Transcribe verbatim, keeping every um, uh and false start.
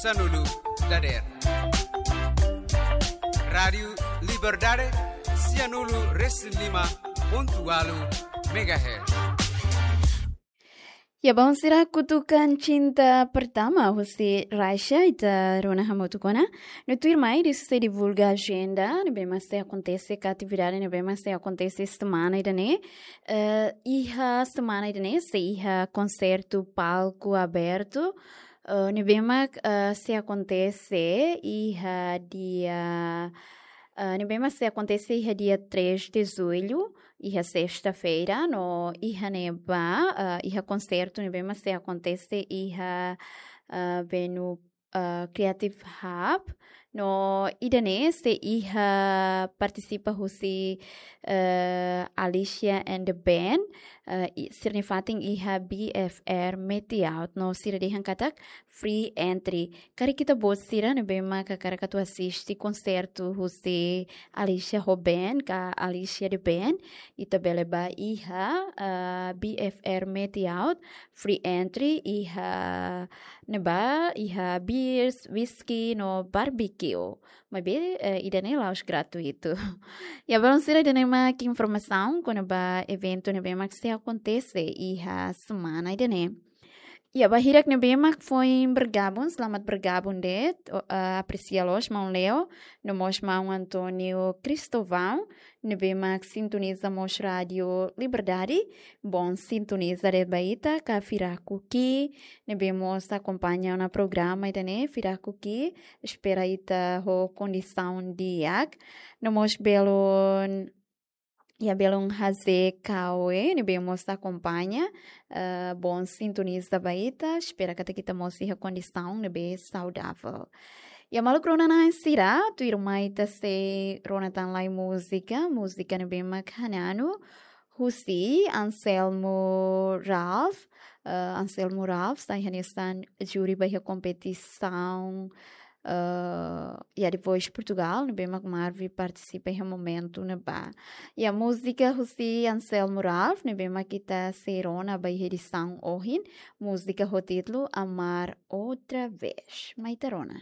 Sanulu dader. Rádiu Liberdade, sianulu resin lima pontu ualu megahertz. Ya, bom, sira, Kutukan Cinta Pertama husi Raisa ita rona hamutuk ona. No tuirmai ita sei divulga ajenda ne'ebé mak sei akontese, ka atividade ne'ebé mak sei akontese semana ida-ne'e. Eh, iha semana ida-ne'e sei iha konsertu palku abertu, eh, ne'ebé mak, eh, sei akontese iha dia, eh, ne'ebé mak sei akontese iha dia três de julho, iha sesta-feira, no iha ne'ebá, eh, iha konsertu ne'ebé mak sei akontese iha, eh, venue, eh, Creative Hub, no ida-ne'e sei iha partisipa husi, eh, Alicia and the Band, eh, i-, sira-nia fatin iha B F R Meet Out, no sira dehan katak free entry. Karik ita-boot sira ne'ebé mak hakarak atu asiste konsertu husi Alicia ho band, ka Alicia the Band, ita bele bá iha, eh, B F R Meet Out, free entry, iha ne'ebá iha beers, whisky no barbecue. Maibé, eh, ida-ne'e la'ós gratuitu. Ya, balun sira, ida-ne'e mak informasaun kona-ba eventu ne'ebé mak sei akontese iha semana ida-ne'e. Ya, ba hirak ne'ebé mak foin bergabung, selamat bergabung de'it, o, eh, apresia loos maun Leo, no mós maun António Cristóvão, ne'ebé mak sintoniza mós Rádiu Liberdade, bom sintoniza de'it ba ita, ka Firaku Ki, ne'ebé mós akompaña ona programa ida-ne'e, Firaku Ki, espera ita ho kondisaun di'ak, no mós belun, ya, belun Haze Kawe, ne'ebé mós akompaña, eh, bom sintoniza ba ita, espera katak ita mós iha kondisaun ne'ebé saudavel. Ya, maluk rona-na'in sira, tuirmai ita sei rona tan lai múzika, múzika ne'ebé mak Hananu, husi Anselmo Ralph, eh, Anselmo Ralph, sai hanesan júri ba iha kompetisaun, eh, ya, The Voice Portugal, ne'ebé mak Marvi partisipa iha momentu ne'ebá. Ya, múzika husi Anselmo Ralph, ne'ebé mak ita sei rona ba iha edisaun ohin, múzika ho títulu Amar Outra Vez. Mai ita rona.